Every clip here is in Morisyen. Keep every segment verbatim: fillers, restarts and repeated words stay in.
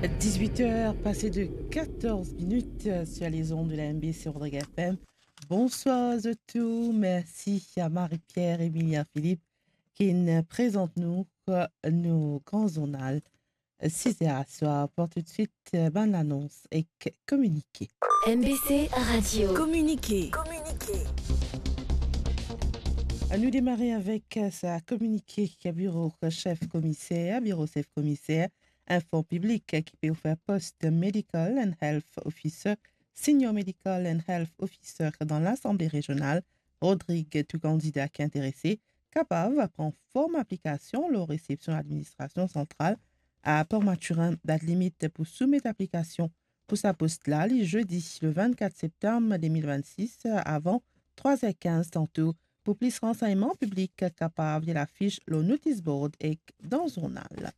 Dix-huit heures passées de quatorze minutes sur les ondes de la M B C Rodrigues F M. Bonsoir à tous. Merci à Marie-Pierre Emilia Philippe ki inn prezant nou, euh, nou gran zournal, euh, sis er aswar. Pou toudsuit, euh, bann lanons ek kominike. M B C Radio. Kominike. Nou demare avek, euh, sa kominike ki biro sef komiser, biro sef komiser, inform piblik ki pe ofer post Medical and Health Officer, Senior Medical and Health Officer dan Lasanble Rezional Rodrig. Tou kandida ki interese kapav pran form aplikasion lor resepsion ladministrasion santral a Port Mathurin. Dat limit pou soumet aplikasion pou sa post la, li zedi le vennkat septam de mil vennsis, avan trwa er kinz tanto. Pou plis ransegnman, piblik kapav lir lafis lor notis board ek dan zournal.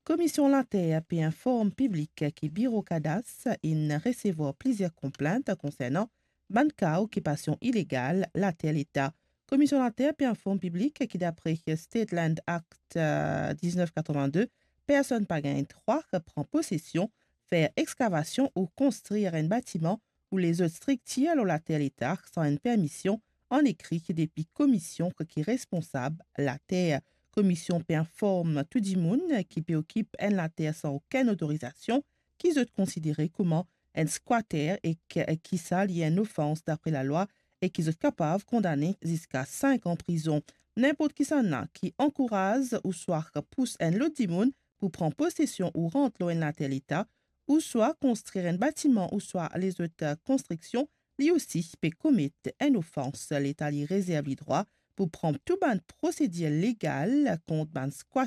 Komisyon Later pe inform piblik ki Biro Kadas inn resevwar plizier konplint konsernan bann ka okipasion ilegal later Leta. Komisyon Later pe inform piblik ki dapre State Land Act, eh, diznef katrevin-de, personn pa gagn drwa pran posesion, fer exkavasion ou konstrir enn batiman ou lezot striktir lor later Leta san enn permision an ekri depi komisyon ki responsab later. Komisyon pe inform tou dimoun ki pe okip enn later san okenn otorizasion ki zot konsidere kouma enn skwater ek ki sa li enn ofans dapre lalwa e ki zot kapav kondane ziska sink an prizon. Ninport kisannla ki ankouraz ouswa pous enn lot dimoun pou pran posesion ou rant lor enn later Leta, ouswa konstrir enn batiman ouswa lezot, eh, konstriksion, li osi pe komet enn ofans. Leta li rezerv li drwa pou pran tou bann prosedir legal kont bann skwat